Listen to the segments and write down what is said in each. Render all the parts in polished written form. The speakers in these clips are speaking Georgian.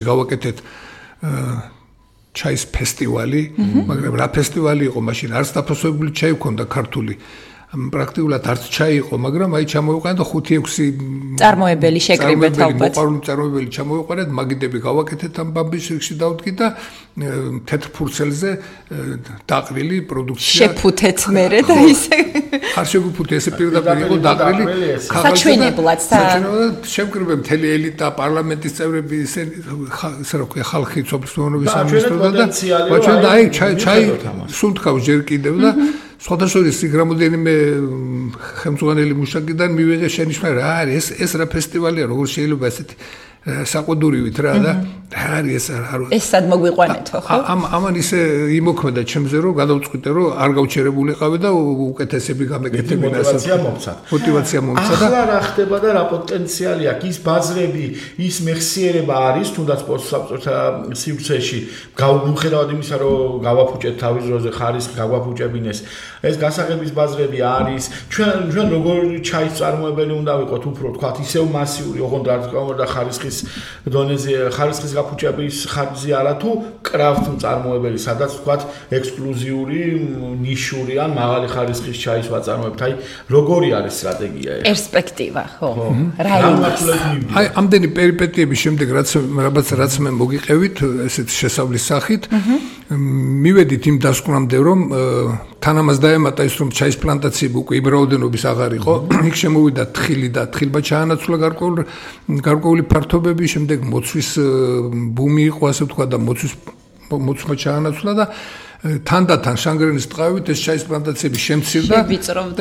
გავაკეთეთ ჩაის ფესტივალი, მაგრამ რა ფესტივალი იყო, მაშინ არც დაფასებული ჩაი ჰქონდა ქართული. პრაქტიკულად არც ჩაი იყო, მაგრამ აი ჩამოვიყვანეთ და 5-6 წარმოებელი შეკრიბეთ ალბათ. მოყვარული წარმოებელი ჩამოვიყვანეთ, მაგიდები გავაკეთეთ ამ ბამბის რიგში დავდგით და თეთრ ფურცელზე დაყრილი პროდუქცია. შეფუთეთ მერე და ისე არ შეგვიფუთე, ესე პირდაპირ იყო დაყრილი საჩვენებლად შევკრიბე მთელი ელიტა, პარლამენტის წევრები, ისე რა ქვია, ხალხი სოფლის მეურნეობის სამინისტროდან და ვაჩვენ და აი ჩაი სულ თქვა ჯერ კიდევ და სხვადასხვა იქ რამოდენიმე ხელმძღვანელი მუშაკიდან მივიღე შენიშვნა რა არის ეს რა ფესტივალია, როგორ შეიძლება ესეთი საყუდურივით რა და რა არის ეს სად მოგვიყვანეთო ხო? ამან ისე იმოქმედა ჩემზე რომ გადავწყვიტე რომ არ გავჩერებულიყავი და უკეთესები გამეკეთებინა მოტივაცია მომცა და ახლა რა ხდება და რა პოტენციალი აქვს ის ბაზრები ის მეხსიერება არის თუნდაც პოსტსაბჭოთა სივრცეში მიუხედავად იმისა რომ გავაფუჭეთ თავის დროზე ხარისხი გაგვაფუჭებინეს ეს გასაღების ბაზრები არის ჩვენ როგორ ჩაის წარმოებელი უნდა ვიყოთ უფრო თქვათ ისევ მასიური ოღონდ და ხარისხის დონეზე ხარისხის გაფუჭების ხარჯზე არა თუ კრაფტ წარმოებელი სადაც თქვათ ექსკლუზიური ნიშური ან მაღალი ხარისხის ჩაის ვაწარმოებთ აი როგორი არის სტრატეგია ეს პერსპექტივა ხო აი ამდენი პერიპეტიების შემდეგ რაც მე მოგიყევით ესეთ შესავლის სახით მივედით იმ დასკვნამდე რომ თან ამას დაემატა ის რომ ჩაის პლანტაციები უკვე იმრაოდენობის აღარ იყო იქ შემოვიდა თხილი და თხილმა ჩაანაცვლა გარკვეული ფართობები შემდეგ მოცვის ბუმი იყო ასე ვთქვა და მოცვა ჩაანაცვლა და თანდათან შანგრენის ტყავით ეს ჩაის პლანტაციები შემცირდა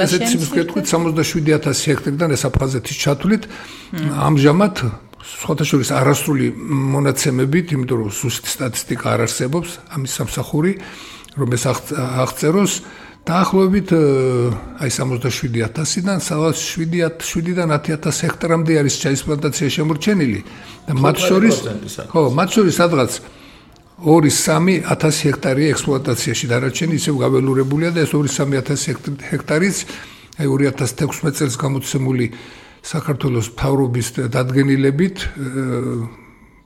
ესეც სიმსკრეთქვით 67000 ჰექტარიდან ეს აფხაზეთის ჩათვლით ამჟამად სხვათა შორის არასრული მონაცემებით იმიტომ რომ ზუსტი სტატისტიკა არ არსებობს ამის სამსახური რომ ეს აღწეროს დაახლოებით აი 67000-დან სადაც 7-დან 10000 ჰექტარამდე არის ჩაის პლანტაცია შემორჩენილი და მათ შორის სადღაც 2-3000 ჰექტარი ექსპლუატაციაში დარჩენილი ისევ გაველურებულია და ეს 2-3000 ჰექტარიც აი 2016 წელს გამოცემული საქართველოს მთავრობის დადგენილებით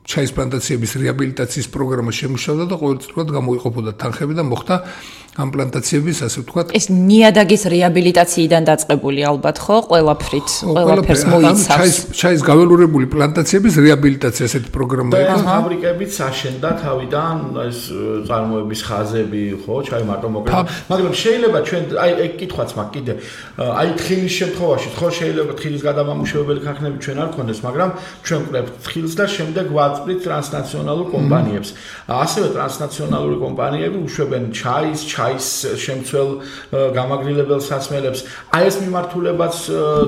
ჩაის პლანტაციების რეაბილიტაციის პროგრამა შემუშავდა და ყოველწლიურად გამოიყოფოდა თანხები და მოხდა ამ პლანტაციების ასე ვთქვათ ეს ნიადაგის რეაბილიტაციიდან დაწყებული ალბათ ხო ყველაფერს მოიცავს ჩაის გაველურებული პლანტაციების რეაბილიტაცია ესეთი პროგრამა იყო ფაბრიკებიც აშენდა თავიდან ეს წარმოების ხაზები ხო ჩაი მარტო მოკრება მაგრამ შეიძლება ჩვენ აი კითხვაც მაქვს კიდე აი თხილის შემთხვევაში ხო შეიძლება თხილის გადამამუშავებელი ქარხნები ჩვენ არ გქონდეს მაგრამ ჩვენ ვკრებთ თხილს და შემდეგ ვაწვრით ტრანსნაციონალურ კომპანიებს ასევე ტრანსნაციონალური კომპანიები უშვებენ ჩაის შემცველ გამაგრილებელ სასმელებს აი ეს მიმართულებაც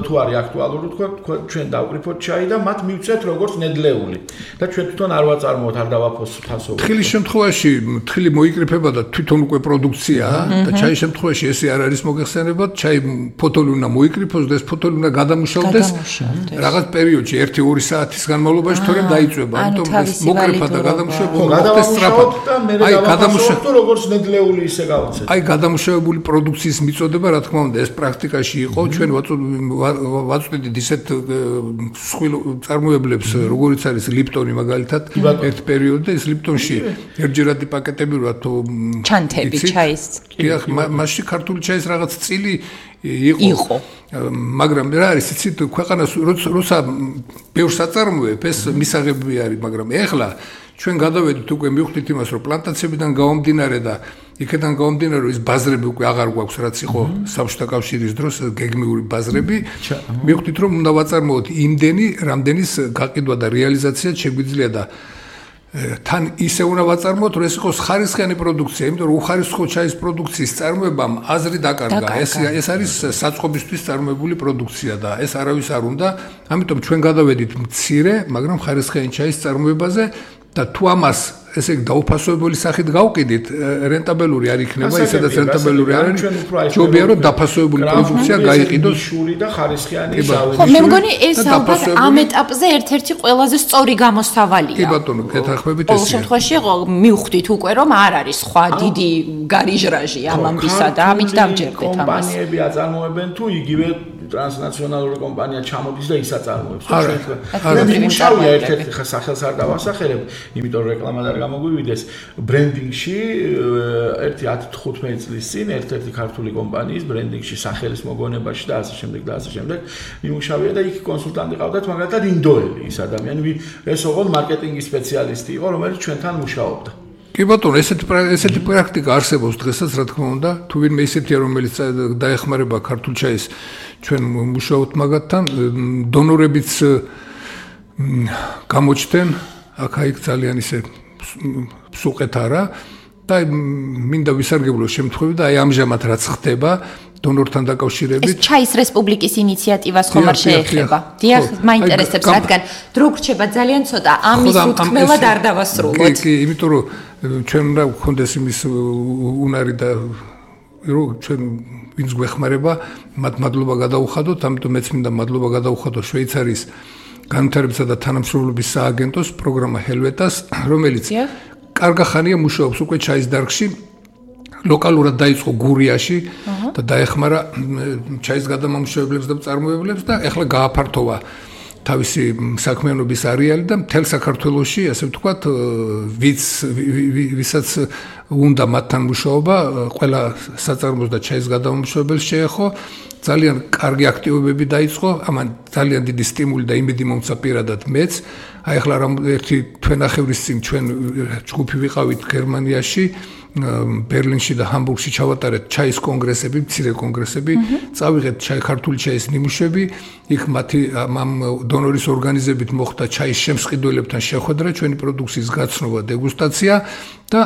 თუ არის აქტუალური თქვა ჩვენ დავკრიფოთ ჩაი და მათ მივცეთ როგორც ნედლეული და ჩვენ თვითონ არ ვაწარმოოთ არ დავაფოსოთ ასო თხილის შემთხვევაში თხილი მოიკრიფება და თვითონ უკვე პროდუქციაა და ჩაის შემთხვევაში ესე არ არის მოგეხსენებათ ჩაი ფოთოლი უნდა მოიკრიფოს და ეს ფოთოლი უნდა გადამუშავდეს რაღაც პერიოდში 1-2 საათის განმავლობაში თორემ დაიწვება ამიტომ ეს მოკრიფა და გადამუშავება მოხდეს სწრაფად აი გადამუშავება როგორც ნედლეული ისე აი გადამუშავებული პროდუქციის მიწოდება რა თქმა უნდა ეს პრაქტიკაში იყო ჩვენ ვაწვდით ისეთ სხვილ წარმოებლებს როგორიც არის ლიპტონი მაგალითად ერთ პერიოდში ეს ლიპტონში ერთჯერადი პაკეტები რა თუ ჩანთები ჩაის მასში ქართული ჩაის რაღაც წილი იყო მაგრამ რა არის იცით ქვეყანას როცა ბევრს აწარმოებ ეს მისაღები არის მაგრამ ეხლა ჩვენ გადავედით უკვე მივხვდით იმას რომ პლანტაციებიდან გამომდინარე და იქიდან გამომდინარე რომ ის ბაზრები უკვე აღარ გვაქვს რაც იყო საბჭოთა კავშირის დროს გეგმიური ბაზრები მივხვდით რომ უნდა ვაწარმოოთ იმდენი რამდენის გაყიდვა და რეალიზაცია შეგვიძლია და თან ისე უნდა ვაწარმოოთ რომ ეს იყოს ხარისხიანი პროდუქცია იმიტომ რომ უხარისხო ჩაის პროდუქციის წარმოებამ აზრი დაკარგა ეს არის საწყობისთვის წარმოებული პროდუქცია და ეს არავის არ უნდა ამიტომ ჩვენ გადავედით მცირე მაგრამ ხარისხიანი ჩაის წარმოებაზე და თუ ამას ესე დაუფასოებელი სახით გავყიდით რენტაბელური არ იქნება ისედაც რენტაბელური არ არის ჯობია რომ დაფასოებული პროდუქცია გაიყიდოს შური და ხარისხიანი ზავი ხო მე მგონი ეს ალბათ ამ ეტაპზე ერთ-ერთი ყველაზე სწორი გამოსავალია კი ბატონო გეთანხმებით ეს შემთხვევაში მივხვდით უკვე რომ არ არის სხვა დიდი გარიჟრაჟი ამ ამბისა და ამით დავჯერდეთ ამას კომპანიები აწარმოებენ თუ იგივე ტრანსნაციონალური კომპანია ჩამოდის და ისაწარმოებს. მე მუშაობია ერთ-ერთი სახელს არ დავასახელებ, იმიტომ რომ რეკლამა არ გამოგვივიდეს. ბრენდინგში ერთი 10-15 წლის წინ ერთ-ერთი ქართული კომპანიის ბრენდინგში სახელის მოგონებაში და ასე შემდეგ და ასე შემდეგ მიმუშავია და იქ კონსულტანტი ყავდათ, მაგალითად ინდოელი ის ადამიანი, ეს ოღონდ მარკეტინგის სპეციალისტი იყო, რომელიც ჩვენთან მუშაობდა. კი ბატონო, ესეთი პრაქტიკა არსებობს დღესაც, რა თქმა უნდა, თუ ვინმე ისეთია, რომელიც დაეხმარება ქართულ ჩაის, ჩვენ მუშაობთ მაგათთან, დონორებიც გამოჩნდნენ, აქ-იქ ძალიან ისე სუყეთ არა და მინდა ვისარგებლო შემთხვევები და აი ამჟამად რაც ხდება დონორთან დაკავშირებით. ეს ჩაის რესპუბლიკის ინიციატივას ხომ არ შეეხება? დიახ, მაინტერესებს, რადგან დრო გრჩება ძალიან ცოტა, ამის უთქმელად არ დავასრულოთ. კი, იმიტომ რომ ჩვენ უნდა გქონდეს იმის უნარი და რომ ჩვენ ვინც გვეხმარება, მათ მადლობა გადაუხადოთ, ამიტომ მეც მინდა მადლობა გადაუხადო შვეიცარიის განვითარებისა და თანამშრომლობის სააგენტოს პროგრამა ჰელვეტას, რომელიც კარგახანია მუშაობს უკვე ჩაის დარგში. ლოკალურად დაიწყო გურიაში და დაეხმარა ჩაის გადამამუშავებლებს და მწარმოებლებს და ეხლა გააფართოვა თავისი საქმიანობის არეალი და მთელ საქართველოში, ასე ვთქვათ, ვისაც უნდა მათთან მუშაობა, ყველა საწარმოს და ჩაის გადამამუშავებელს შეეხო, ძალიან კარგი აქტივობები დაიწყო, ამან ძალიან დიდი სტიმული და იმედი მომცა პირადად მეც. აი ახლა ერთი თვენახევრის წინ ჩვენ ჯგუფი ვიყავით გერმანიაში, ბერლინში და ჰამბურგში ჩავატარეთ ჩაის კონგრესები, მცირე კონგრესები, წავიღეთ ქართული ჩაის ნიმუშები, იქ მათი ამ დონორის ორგანიზებით მოხდა ჩაის შემსყიდველებთან შეხვედრა, ჩვენი პროდუქციის გაცნობა, დეგუსტაცია და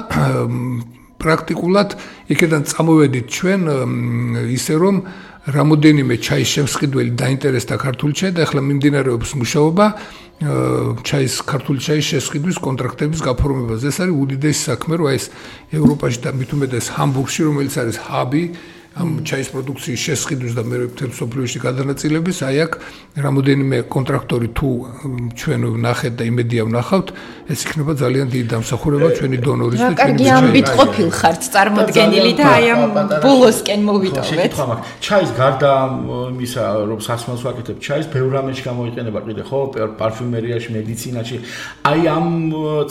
პრაქტიკულად იქიდან წამოვედით ჩვენ ისე რომ რამოდენიმე ჩაის შემსყიდველი დაინტერესდა ქართული ჩაი და ახლა მიმდინარეობს მუშაობა ჩაის ქართული ჩაის შესყიდვის კონტრაქტების გაფორმებაზე. ეს არის უდიდესი საქმე, რომ ეს ევროპაში და მით უმეტეს ჰამბურგში, რომელიც არის ჰაბი ამ ჩაის პროდუქციის შესყიდვის და მეორე მთელ მსოფლიოში გადანაწილების, აი აქ რამოდენიმე კონტრაქტორი თუ ჩვენ ვნახეთ და იმედია ვნახავთ, ეს იქნება ძალიან დიდი დამსახურება ჩვენი დონორის და ჩვენი ამბით ყოფილ ხართ წარმოდგენილი და აი ამ ბოლოსკენ მოვიტოვეთ. ჩაის გარდა იმისა, რომ სასმელს ვაკეთებ ჩაის, ბევრ რამეში გამოიყენება კიდე ხო, პარფიუმერიაში, მედიცინაში. აი ამ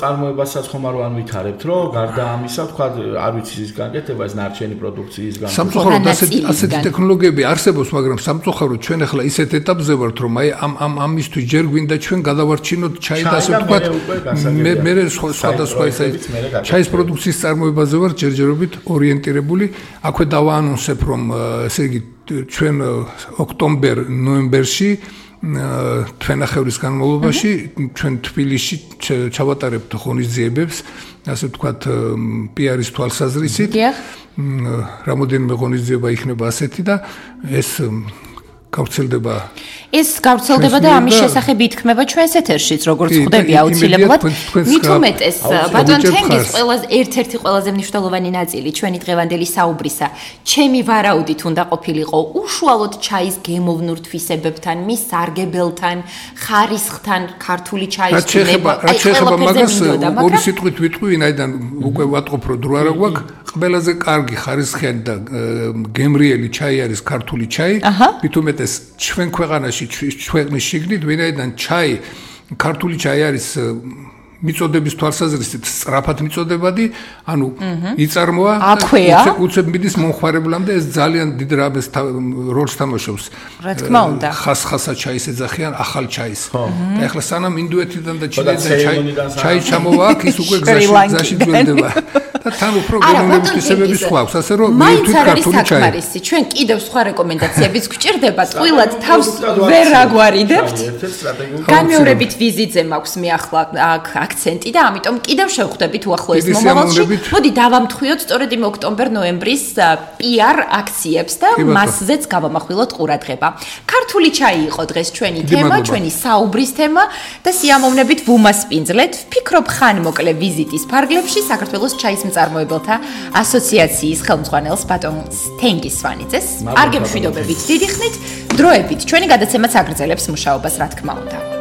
წარმოებასაც ხომ არ ვითარებთ, რომ გარდა ამისა, თქვა, არ ვიცი ის გაკეთება, ეს ნარჩენი პროდუქციის გამო ასეთი ტექნოლოგიები არსებობს, მაგრამ სამწუხაროდ ჩვენ ახლა ისეთ ეტაპზე ვართ, რომ აი ამისთვის ჯერ გვინდა ჩვენ გადავარჩინოთ ჩაი და ასე ვთქვათ, მე სხვადასხვა ისე ჩაის პროდუქციის წარმოებაზე ვარ ჯერჯერობით ორიენტირებული. აქვე დავაანონსებ, რომ ესე იგი ჩვენ ოქტომბერ-ნოემბერში თვენახევრის განმავლობაში ჩვენ თბილისში ჩავატარებთ ღონისძიებებს, ასე ვთქვათ, პიარის თვალსაზრისით. რამოდენიმე ღონისძიება იქნება ასეთი და ეს გავრცელდება და ამის შესახებ ითქმება ჩვენს ეთერშიც, როგორც ხვდები აუცილებლად. მით უმეტეს, ბატონ თენგის ერთ-ერთი ყველაზე მნიშვნელოვანი ნაწილი ჩვენი დღევანდელი საუბრისა, ჩემი ვარაუდით უნდა ყოფილიყო უშუალოდ ჩაის გემოვნურ თვისებებთან, მის სარგებელთან, ხარისხთან, ქართული ჩაის თვისება. რაც შეეხება მაგას, ორი სიტყვით ვიტყვი, ვინაიდან უკვე ვატყობ, რომ დრო არა გვაქვს, ყველაზე კარგი ხარისხიანი და გემრიელი ჩაი არის ქართული ჩაი. მით უმეტეს ჩვენ ქვეყანაში ჩვენი შიგნით ვინაიდან ჩაი ქართული ჩაი არის მიწოდების თვალსაზრისით სწრაფად მიწოდებადი, ანუ იწარმოა უცებ მიდის მომხმარებლამდე, ეს ძალიან დიდ როლს თამაშობს. რა თქმა უნდა. ხასხასა ჩაის ეძახიან ახალ ჩაის. და ახლა სანამ ინდოეთიდან და ჩინეთიდან ჩაი ჩამოვა აქ, ის უკვე გზაში ძველდება. და თან უფრო გენერალური თვისებების ხვალს, ასე რომ მივთვით ქართული ჩაი. ჩვენ კიდევ სხვა რეკომენდაციებიც გვჭირდება, ტყუილად თავს ვერ აგვარიდებთ. განმეორებით ვიზიტზე მაქვს მე ახლა აქცენტი და ამიტომ კიდევ შევხვდებით უახლოეს მომავალში. მოდი დავამთხვიოთ სწორედ იმ ოქტომბერ-ნოემბრის PR აქციებს და მასზეც გავამახვილოთ ყურადღება. ქართული ჩაი იყო დღეს ჩვენი თემა, ჩვენი საუბრის თემა და სიამოვნებით ვუმასპინძლეთ. ვფიქრობ ხან მოკლე ვიზიტის ფარგლებში საქართველოს ჩაის მწარმოებელთა ასოციაციის ხელმძღვანელს ბატონ თენგის სვანიძეს. არ გემშვიდობებით დიდი ხნით, დროებით ჩვენი გადაცემაც აგრძელებს მუშაობას, რა თქმა უნდა.